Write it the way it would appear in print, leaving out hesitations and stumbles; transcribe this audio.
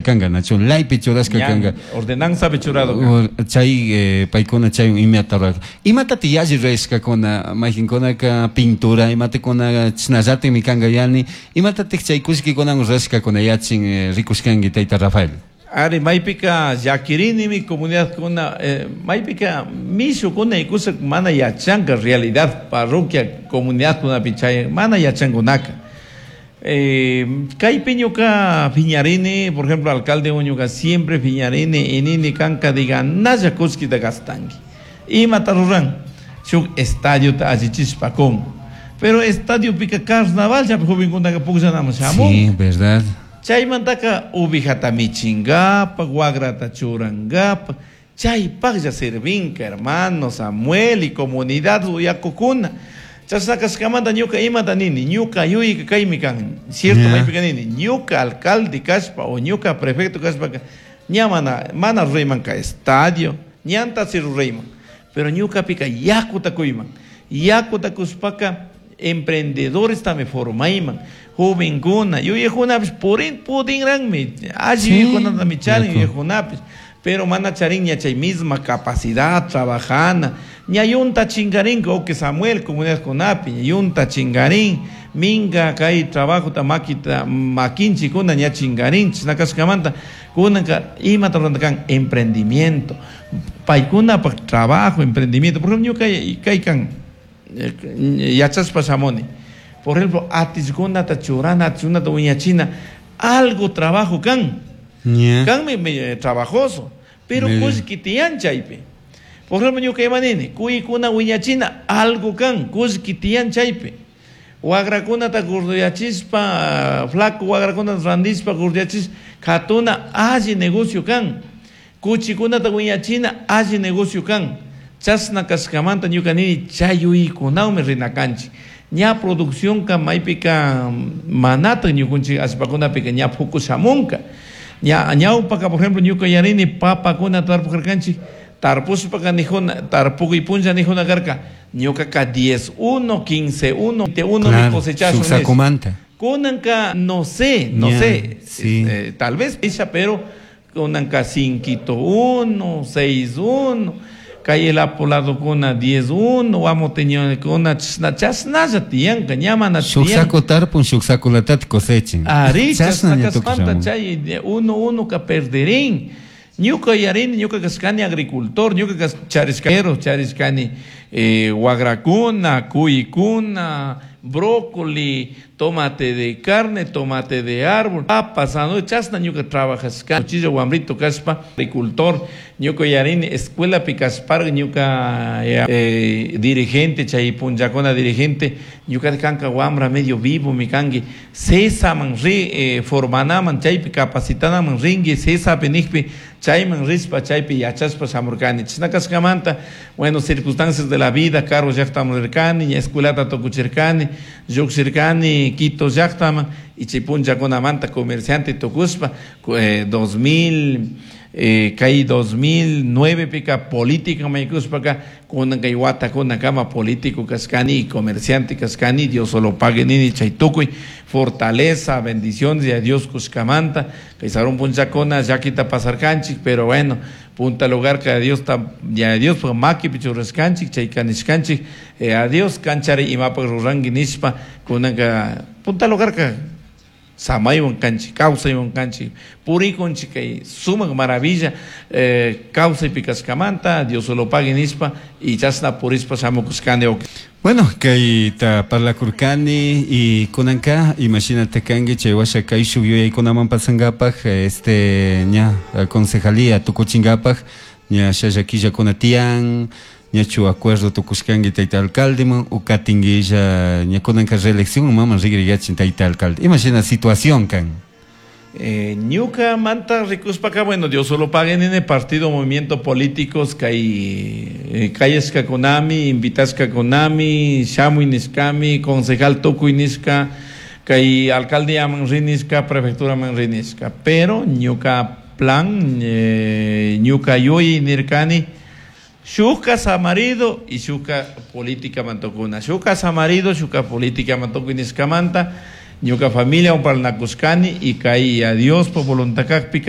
Kanga, nachu leypi churashka kanga. Ordenanzapi churado. Chay paykuna chay imata rurarka. Imatati yalli rurashkakuna, mayqinkunaka pintura, imatakuna chashnallatimi kanga yani, imatatik chay kullkikunawan rurashkakuna yachin rikushkanki tayta Rafael? Ari, maypika llakirinimi comunidadkuna, maypika mishukuna ikusa mana yachanka realidad parroquia comunidadkunapi chay mana yachankunaka. Kaypi ñuka piñarini, por ejemplo, alcalde ñuka siempre piñarini, inini kanka diga nalla kullkita gastanki. Imata ruran, shuk estadiota allichishpa kun. Pero estadio pika carnaval chapi jovenkunaka pukllanaman shamun. Sí, verdad. Chaymantaka ovejata michingapak, wagrata churangapak, chaypaklla servinka, hermano Samuel y comunidad uyakukuna. Chashna kashkamanta ñuka imata nini, ñuka yuyayka kaymi kan, cierto maypika nini, ñuka alcalde kashpa o ñuka prefecto kashpaka, ña mana ruraymanka estadio, ñanta si rurayman, pero ñukapika yakuta kuyman, yakuta kushpaka emprendedores tami formayman, jovenkuna, yuyaykunapish purin pudinranmi, alli yuyaykunatami charin yuyaykunapish, pero mana charin ña chay misma capacidad trabajana, ña yunta chingarin, o que Samuel comunidad kunapi, ña yunta chingarin, minga kay trabajo ta maquita, maquinchikuna ña chingarin, chashna kashkamanta, kunanka imata ruranta kan emprendimiento, paykunapak trabajo, emprendimiento, por ejemplo, ñuka kay kan, yachashpa shamuni, por ejemplo, atishkunata churana, atishkunata wiñachina, algo trabajo kan, kanmi trabajoso, pero kullki tiyan chaypi. Por ejemplo, ñuka imanini, kuykuna wiñachina, algo kan, kullki tiyan chaypi. Wagrakunata gorduyachispa, flaco wagrakunata randispa gorduyachispa, katuna alli negocio kan. Kuchikunata wiñachina, alli negocio kan. Chashna kashkamanta ñuka nini, chay yuyaykunawmi rinakanchik. Ña producción ka maypika manata ñukunchik allpakunapika ña puku shamunka. Ña ñawpaka, por ejemplo, ñuka yarini papakuna tarpukarkanchik, tarpushpaka nijuna, tarpukuy punlla nijuna karka, ñukaka 10 1, 15 1, 20 1 mi cosechashun Shuk sakumanta. Kunanka no sé, no sé, tal vez ella, pero kunanka 5 1, 6 1, kay el apolado kuna 10 1, vamos teniendo kuna chasna, chasnalla tiyanka, ña mana Shuk tiyan. saco tarpun, shuk saco latat cosechin. Ari, Chasna chasna ña tukuy kaspanta, shamun. chay, de 1 1 ka perderín. Ñuka yarini, ñuka kaskani agricultor, ñuka kas charishkero, charishkani guagracuna, cuicuna, brócoli, tomate de carne, tomate de árbol, papas, ¿no? Chasna ñuka trabajashka, cuchillo guambrito kaspa, agricultor, ñuka yarini, escuela picaspar, ñuka dirigente, chay punllacona dirigente, ñuka kanka guambra medio vivo, mi kangi, sesaman ri formanaman, chaypi capacitanaman ringi, sesa penijpi, chayman rispa, chaypi yachaspa shamurkani. Chashna kashkamanta, bueno, circunstancias de la vida, carro llaqtaman rirkani, ña escuelata tukuchirkani, lluqshirkani, Quito llaqtaman, y chay punllakunamanta comerciante tukuspa, 2000, kay 2009 pika política maykuspaka, kunan kay wata kuna kama político kashkani y comerciante kashkani, Dios solo pague nini chay tukuy, fortaleza, bendiciones y a Dios kushkamanta, kay sarun punllakuna llakita pasarkanchik, pero bueno, punta lugar que a Dios ta, ya a Dios pues maki pichurraskanchik, chay kanishkanchik, a Dios kanchari imapak rurangi nishpa, kunanka punta lugar que samaywan kanchik, kawsaywan kanchik, purikunchik kay sumak maravilla kawsaypi kashkamanta, Dios solo pague nishpa, y chashna purispa shamukushkani. Bueno, kayta parlakurkani y kunanka, imagínate kanki chay washa kay shuk yuyaykunaman pasankapak, ña concejalía tukuchinkapak, ña shalla killakuna tiyan, ñachu acuerdo tukushkanki tayta alcaldeman, u katinguilla ña kunanka reelección maman rigriyachin tayta alcalde. Imagina situación kan. Ñuka manta rikuspaka, bueno, Dios solo pague en el partido movimiento políticos kay kayashka kunami, invitashka kunami, shamuy nishkami, concejal tukuy nishka, kay alcaldía man rinishka, prefectura man rinishka, pero ñuka plan, ñuka yuyi nirkani, shuka samarido y shuka política mantokuna, shuka samarido, shuka política mantoku nishkamanta, ñuka familia un parnakushkani y kay a Dios por voluntad kakpika.